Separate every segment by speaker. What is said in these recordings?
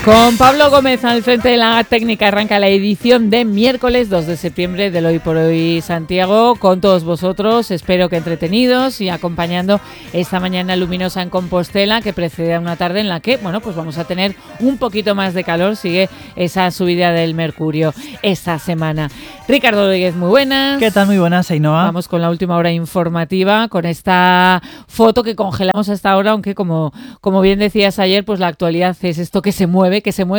Speaker 1: Con Pablo Gómez al frente de la técnica arranca la edición de miércoles 2 de septiembre del Hoy por Hoy Santiago con todos vosotros, espero que entretenidos y acompañando esta mañana luminosa en Compostela que precede a una tarde en la que, bueno, pues vamos a tener un poquito más de calor, sigue esa subida del mercurio esta semana. Ricardo Rodríguez, muy buenas.
Speaker 2: ¿Qué tal? Muy buenas, Ainhoa.
Speaker 1: Vamos con la última hora informativa, con esta foto que congelamos hasta ahora, aunque como bien decías ayer, pues la actualidad es esto que se mueve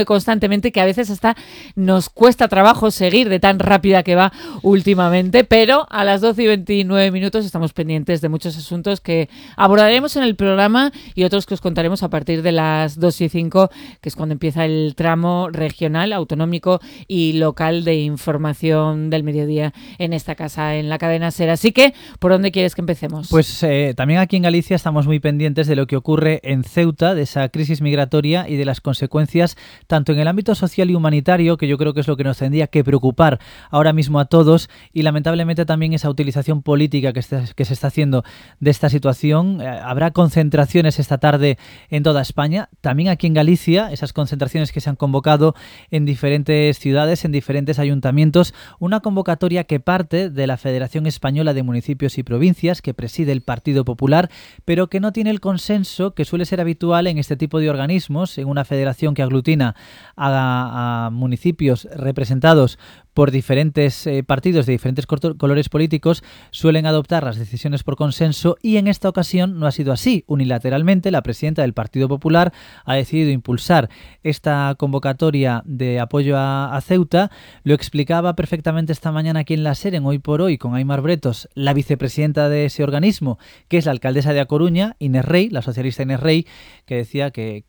Speaker 1: constantemente, que a veces hasta nos cuesta trabajo seguir de tan rápida que va últimamente, pero a las 12:29 estamos pendientes de muchos asuntos que abordaremos en el programa y otros que os contaremos a partir de las 2:05, que es cuando empieza el tramo regional, autonómico y local de información del mediodía en esta casa, en la cadena SER. Así que, ¿por dónde quieres que empecemos?
Speaker 2: Pues también aquí en Galicia estamos muy pendientes de lo que ocurre en Ceuta, de esa crisis migratoria y de las consecuencias tanto en el ámbito social y humanitario, que yo creo que es lo que nos tendría que preocupar ahora mismo a todos, y lamentablemente también esa utilización política que se está haciendo de esta situación. Habrá concentraciones esta tarde en toda España, también aquí en Galicia, esas concentraciones que se han convocado en diferentes ciudades, en diferentes ayuntamientos, una convocatoria que parte de la Federación Española de Municipios y Provincias, que preside el Partido Popular, pero que no tiene el consenso que suele ser habitual en este tipo de organismos, en una federación que aglutina a municipios representados por diferentes partidos de diferentes colores políticos. Suelen adoptar las decisiones por consenso y en esta ocasión no ha sido así. Unilateralmente, la presidenta del Partido Popular ha decidido impulsar esta convocatoria de apoyo a Ceuta. Lo explicaba perfectamente esta mañana aquí en la SER, en Hoy por Hoy, con Aimar Bretos, la vicepresidenta de ese organismo, que es la alcaldesa de A Coruña, Inés Rey, la socialista Inés Rey, que decía que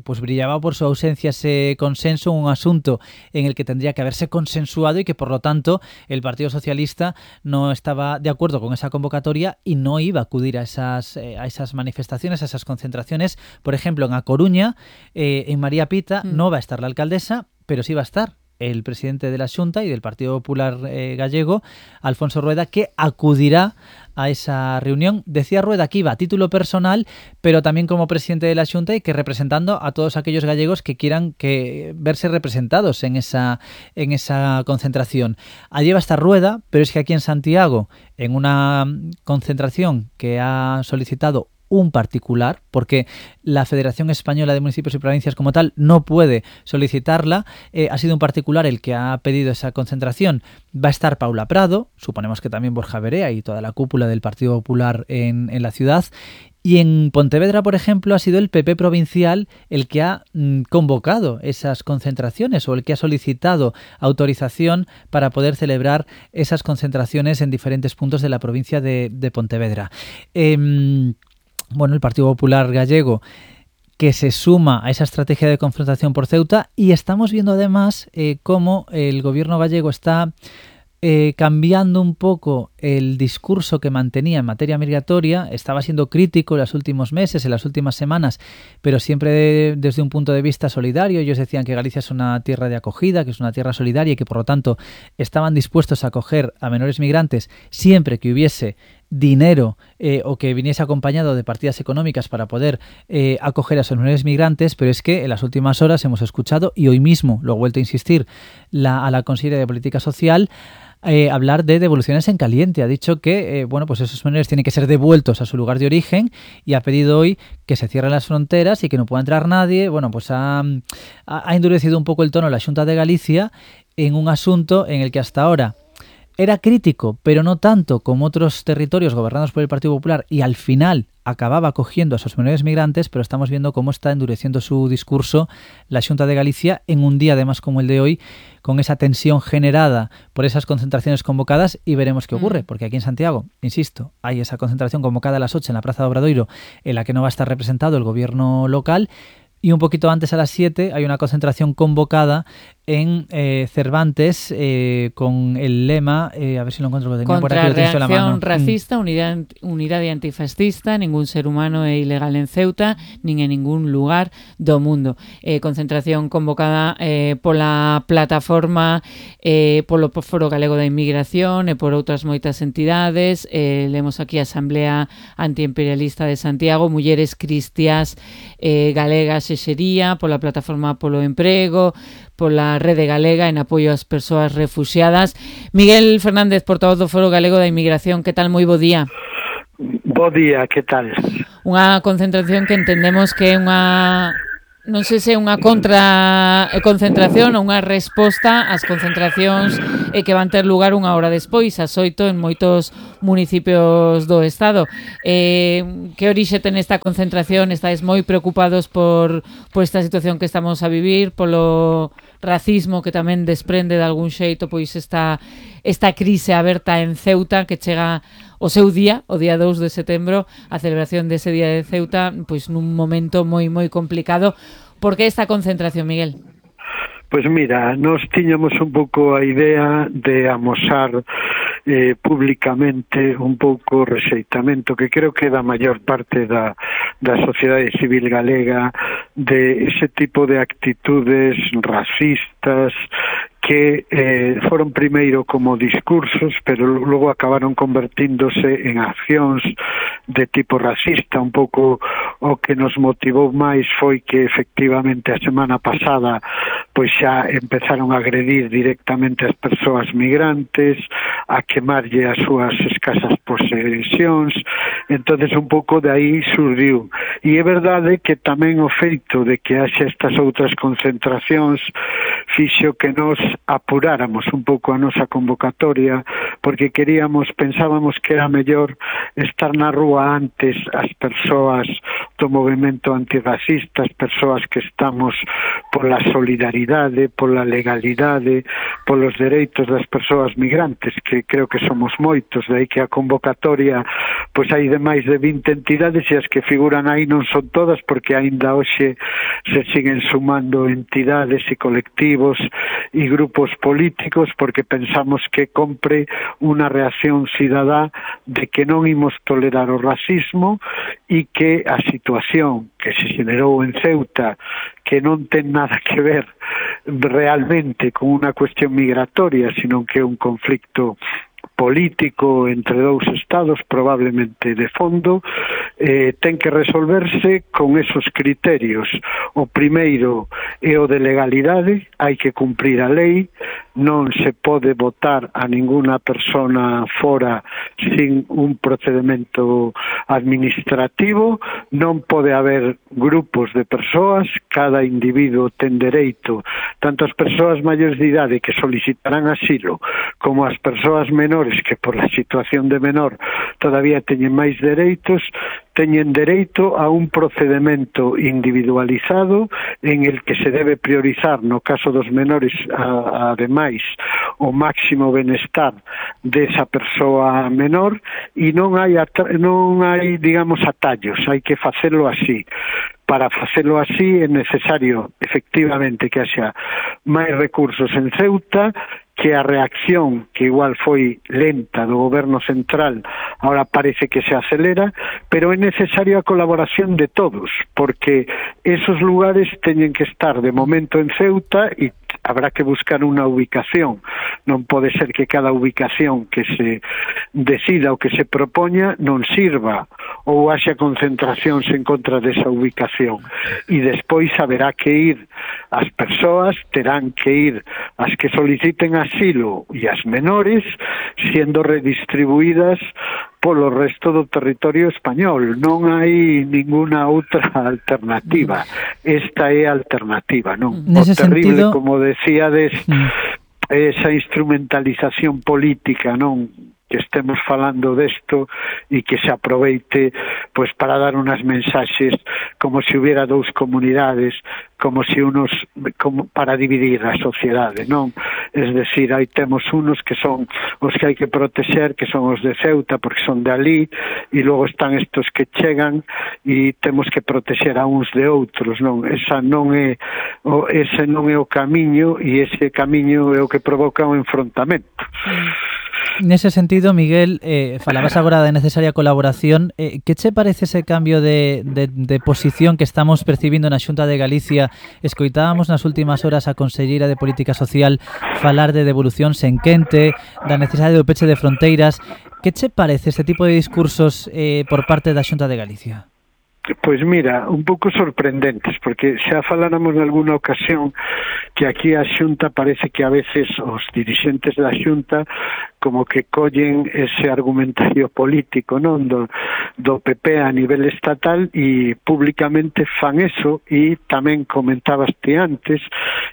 Speaker 2: pues brillaba por su ausencia ese consenso, un asunto en el que tendría que haberse consensuado y que por lo tanto el Partido Socialista no estaba de acuerdo con esa convocatoria y no iba a acudir a esas manifestaciones, a esas concentraciones. Por ejemplo, en A Coruña, en María Pita, no va a estar la alcaldesa, pero sí va a estar el presidente de la Xunta y del Partido Popular gallego, Alfonso Rueda, que acudirá a esa reunión. Decía Rueda que iba a título personal, pero también como presidente de la Xunta y que representando a todos aquellos gallegos que quieran verse representados en esa concentración. Allí va a estar Rueda, pero es que aquí en Santiago, en una concentración que ha solicitado un particular, porque la Federación Española de Municipios y Provincias como tal no puede solicitarla, ha sido un particular el que ha pedido esa concentración. Va a estar Paula Prado, suponemos que también Borja Verea y toda la cúpula del Partido Popular en la ciudad. Y en Pontevedra, por ejemplo, ha sido el PP provincial el que ha convocado esas concentraciones o el que ha solicitado autorización para poder celebrar esas concentraciones en diferentes puntos de la provincia de Pontevedra. Bueno, el Partido Popular gallego que se suma a esa estrategia de confrontación por Ceuta, y estamos viendo además cómo el gobierno gallego está cambiando un poco el discurso que mantenía en materia migratoria. Estaba siendo crítico en los últimos meses, en las últimas semanas, pero siempre desde un punto de vista solidario. Ellos decían que Galicia es una tierra de acogida, que es una tierra solidaria y que por lo tanto estaban dispuestos a acoger a menores migrantes siempre que hubiese dinero o que viniese acompañado de partidas económicas para poder acoger a esos menores migrantes, pero es que en las últimas horas hemos escuchado, y hoy mismo lo he vuelto a insistir, a la consejera de Política Social hablar de devoluciones en caliente. Ha dicho que bueno, pues esos menores tienen que ser devueltos a su lugar de origen y ha pedido hoy que se cierren las fronteras y que no pueda entrar nadie. Bueno, pues ha endurecido un poco el tono la Xunta de Galicia en un asunto en el que hasta ahora era crítico, pero no tanto como otros territorios gobernados por el Partido Popular, y al final acababa acogiendo a esos menores migrantes, pero estamos viendo cómo está endureciendo su discurso la Xunta de Galicia en un día además como el de hoy, con esa tensión generada por esas concentraciones convocadas, y veremos qué ocurre, porque aquí en Santiago, insisto, hay esa concentración convocada a las 8 en la Plaza de Obradoiro, en la que no va a estar representado el gobierno local. Y un poquito antes, a las 7, hay una concentración convocada en Cervantes con el lema, a ver si lo encuentro, lo tenía por aquí, lo tienes en la mano.
Speaker 1: Racista, unidade antifascista, ningún ser humano é ilegal en Ceuta, nin en ningún lugar do mundo. Concentración convocada pola plataforma, polo Foro Galego da Inmigración e por outras moitas entidades. Lemos aquí a Asamblea Antiimperialista de Santiago, Mulleres Cristiás Galegas e Xería, pola plataforma Polo Emprego, pola Rede Galega en apoio ás persoas refuxiadas. Miguel Fernández, portavoz do Foro Galego da Inmigración, que tal? Moi bo día.
Speaker 3: Bo día, que tal?
Speaker 1: Unha concentración que entendemos que é unha... non sei se é unha concentración ou unha resposta ás concentracións que van ter lugar unha hora despois, ás 8 en moitos municipios do Estado. Que orixe ten esta concentración? Estáis moi preocupados por esta situación que estamos a vivir, polo racismo que tamén desprende de algún xeito pois esta crise aberta en Ceuta, que chega o seu día, o día 2 de setembro, a celebración dese día de Ceuta, pois nun momento moi complicado. Por que esta concentración, Miguel?
Speaker 3: Pois mira, nos tiñamos un pouco a idea de amosar públicamente un pouco o rexeitamento que creo que da maior parte da sociedade civil galega de ese tipo de actitudes racistas que foron primeiro como discursos, pero logo acabaron convertíndose en accións de tipo racista. Un pouco o que nos motivou máis foi que efectivamente a semana pasada pois xa empezaron a agredir directamente as persoas migrantes, a quemarlle as súas escasas posesións. Entonces un pouco de aí surdiu. E é verdade que tamén o feito de que haxa estas outras concentracións fixo que nos apuráramos un pouco a nosa convocatoria, porque pensábamos que era mellor estar na rúa antes as persoas do movemento antirracista, as persoas que estamos pola solidaridade, pola legalidade, polos dereitos das persoas migrantes, que creo que somos moitos, de aí que a convocatoria pois hai de máis de 20 entidades e as que figuran aí non son todas, porque aínda hoxe se siguen sumando entidades e colectivos e grupos políticos, porque pensamos que compre unha reacción cidadá de que non imos tolerar o racismo e que a situación que se generou en Ceuta, que non ten nada que ver realmente con unha cuestión migratoria, sino que é un conflicto político entre dous estados, probablemente de fondo, ten que resolverse con esos criterios. O primeiro é o de legalidade, hai que cumprir a lei, non se pode votar a ninguna persona fora sin un procedimento administrativo, non pode haber grupos de persoas, cada individuo ten dereito, tanto as persoas maiores de idade que solicitarán asilo, como as persoas menores que por la situación de menor todavía teñen máis dereitos, teñen dereito a un procedimento individualizado en el que se debe priorizar, no caso dos menores, ademais, o máximo benestar desa persoa menor, e non hai, digamos, atallos, hai que facelo así. Para facelo así é necesario, efectivamente, que haxa máis recursos en Ceuta, que a reacción, que igual foi lenta do goberno central, ahora parece que se acelera, pero é necesaria a colaboración de todos, porque esos lugares teñen que estar de momento en Ceuta e habrá que buscar unha ubicación. Non pode ser que cada ubicación que se decida ou que se propoña non sirva ou haxa concentracións en contra desa ubicación. E despois haberá que ir as persoas, terán que ir as que soliciten asilo e as menores, siendo redistribuídas polo resto do territorio español. Non hai ninguna outra alternativa. Esta é a alternativa, non? O terrible, como decíades, esa instrumentalización política, non? que estemos falando desto e que se aproveite pois para dar unas mensaxes como se hubiera dous comunidades, como para dividir a sociedade, non? Es decir, aí temos unos que son os que hai que protexer, que son os de Ceuta porque son de ali, e logo están estos que chegan e temos que protexer a uns de outros, non? Ese non é o camiño, e ese camiño é o que provoca o enfrontamento.
Speaker 2: Nese sentido, Miguel, falabas agora da necesaria colaboración. Que che parece ese cambio de posición que estamos percibindo na Xunta de Galicia? Escoitábamos nas últimas horas a conselleira de Política Social falar de devolución sen quente, da necesidade do peche de fronteiras. Que che parece este tipo de discursos por parte da Xunta de Galicia?
Speaker 3: Pois mira, un pouco sorprendentes, porque xa faláramos en alguna ocasión que aquí a Xunta parece que a veces os dirixentes da Xunta como que collen ese argumentario político, non, do PP a nivel estatal, e públicamente fan eso. E tamén comentabas ti antes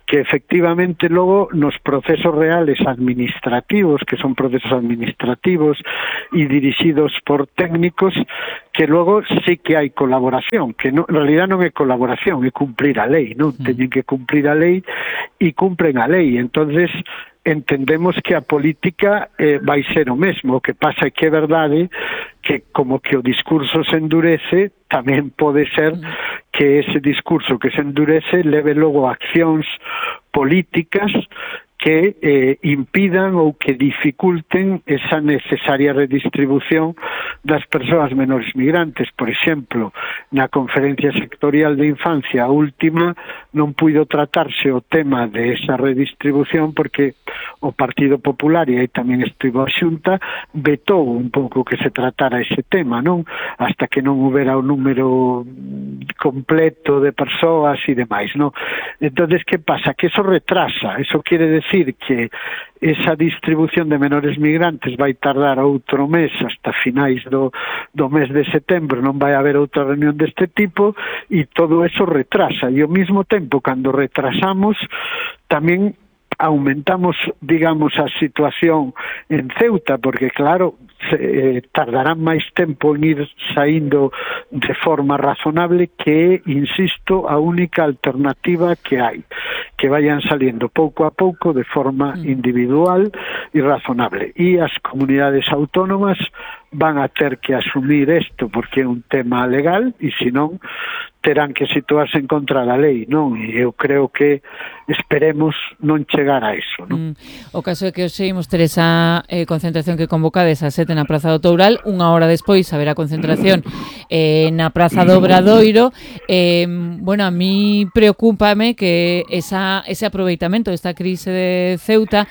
Speaker 3: que efectivamente logo nos procesos reales administrativos, que son procesos administrativos e dirixidos por técnicos, que logo sí que hai colaboración, que en realidad non é colaboración, é cumprir a lei, non? Teñen que cumprir a lei e cumpren a lei. Entonces entendemos que a política vai ser o mesmo. O que pasa é que é verdade que como que o discurso se endurece, tamén pode ser que ese discurso que se endurece leve logo a accións políticas que impidan ou que dificulten esa necesaria redistribución das persoas menores migrantes. Por exemplo, na conferencia sectorial de infancia, a última, non puido tratarse o tema de esa redistribución porque o Partido Popular, e aí tamén estivo a Xunta, vetou un pouco que se tratara ese tema, non? Hasta que non houbera o número completo de persoas e demais, non? Entonces, que pasa? Que eso retrasa, eso quiere decir que esa distribución de menores migrantes vai tardar outro mes, hasta finais do mes de setembro non vai haber outra reunión deste tipo, e todo eso retrasa. E ao mesmo tempo, cando retrasamos, tamén aumentamos, digamos, a situación en Ceuta, porque claro, tardarán máis tempo en ir saindo de forma razonable, que, insisto, a única alternativa que hai, que vayan saliendo pouco a pouco de forma individual e razonable. E as comunidades autónomas van a ter que asumir isto porque é un tema legal, e senón terán que situarse en contra da lei, non? E eu creo que esperemos non chegar a eso, non?
Speaker 1: O caso é que hoxe imos ter esa concentración que convocades a 7 na Praza do Toural, unha hora despois haberá concentración na Praza do Obradoiro. Bueno, a mí preocúpame que ese aproveitamento desta crise de Ceuta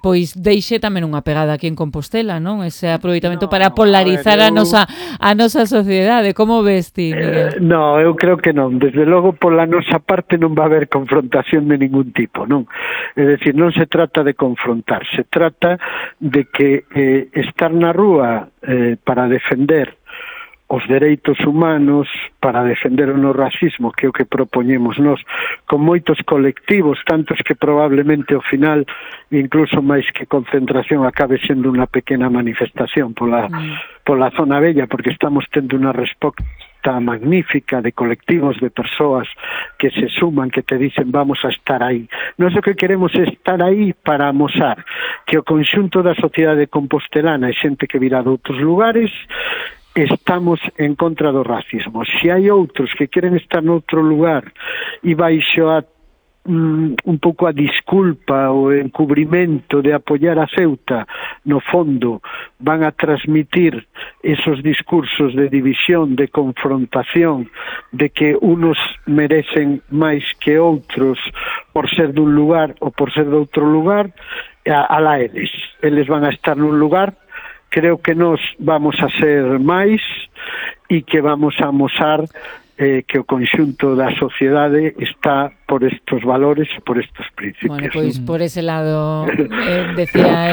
Speaker 1: pois deixe tamén unha pegada aquí en Compostela, non? Ese aproveitamento para polarizar a nosa sociedade. Como ves ti, Miguel?
Speaker 3: No, eu creo que non. Desde logo, pola nosa parte non va a haber confrontación de ningún tipo, non? É dicir, non se trata de confrontar, se trata de que estar na rúa para defender os dereitos humanos, para defender o no racismo, que é o que propoñemos nós, con moitos colectivos, tantos que probablemente ao final, incluso máis que concentración, acabe sendo unha pequena manifestación pola zona bella, porque estamos tendo unha resposta magnífica de colectivos, de persoas que se suman, que te dicen vamos a estar aí. Nós o que queremos é estar aí para amosar que o conxunto da sociedade compostelana e xente que virá de outros lugares estamos en contra do racismo. Se hai outros que queren estar noutro lugar e baixo un pouco a disculpa ou encubrimento de apoiar a Ceuta, no fondo van a transmitir esos discursos de división, de confrontación, de que unos merecen máis que outros por ser dun lugar ou por ser de outro lugar, alá eles van a estar nun lugar. Creo que nós vamos a ser máis e que vamos a amosar que o conxunto da sociedade está por estos valores e por estos principios.
Speaker 1: Bueno, pois por ese lado decía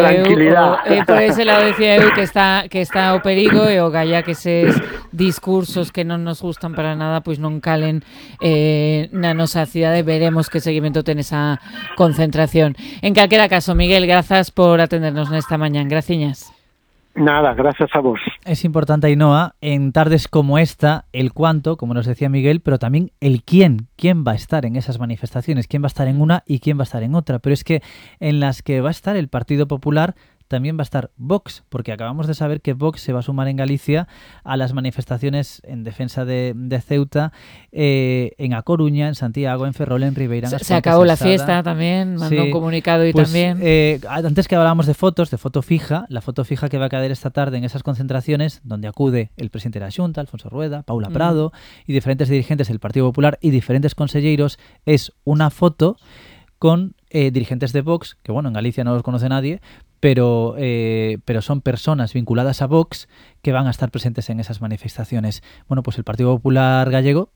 Speaker 1: por ese lado decía eu que está o perigo, e o galla que eses discursos que non nos gustan para nada pois non calen na nosa cidade. Veremos que seguimento ten esa concentración. En calquera caso, Miguel, grazas por atendernos nesta mañán. Graciñas.
Speaker 3: Nada, gracias a vos.
Speaker 2: Es importante, Ainhoa, en tardes como esta, el cuánto, como nos decía Miguel, pero también el quién. ¿Quién va a estar en esas manifestaciones? ¿Quién va a estar en una y quién va a estar en otra? Pero es que en las que va a estar el Partido Popular también va a estar Vox, porque acabamos de saber que Vox se va a sumar en Galicia a las manifestaciones en defensa de Ceuta, en A Coruña, en Santiago, en Ferrol, en Ribeirán.
Speaker 1: Se acabó la fiesta también, mandó un comunicado y
Speaker 2: pues,
Speaker 1: también...
Speaker 2: antes que hablábamos de fotos, de foto fija, la foto fija que va a caer esta tarde en esas concentraciones, donde acude el presidente de la Xunta, Alfonso Rueda, Paula Prado, y diferentes dirigentes del Partido Popular y diferentes conselleiros, es una foto con dirigentes de Vox, que bueno, en Galicia no los conoce nadie, pero son personas vinculadas a Vox que van a estar presentes en esas manifestaciones. Bueno, pues el Partido Popular gallego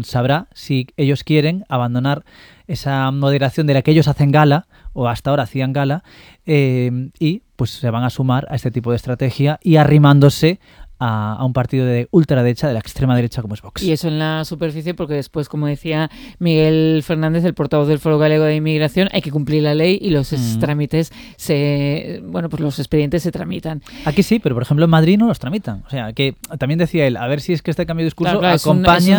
Speaker 2: sabrá si ellos quieren abandonar esa moderación de la que ellos hacen gala, o hasta ahora hacían gala, y pues se van a sumar a este tipo de estrategia y arrimándose a un partido de ultraderecha, de la extrema derecha como es Vox.
Speaker 1: Y eso en la superficie, porque después, como decía Miguel Fernández, el portavoz del Foro Galego de Inmigración, hay que cumplir la ley y los trámites pues los expedientes se tramitan.
Speaker 2: Aquí sí, pero por ejemplo en Madrid no los tramitan. O sea, que también decía él, a ver si es que este cambio de discurso
Speaker 1: claro,
Speaker 2: acompaña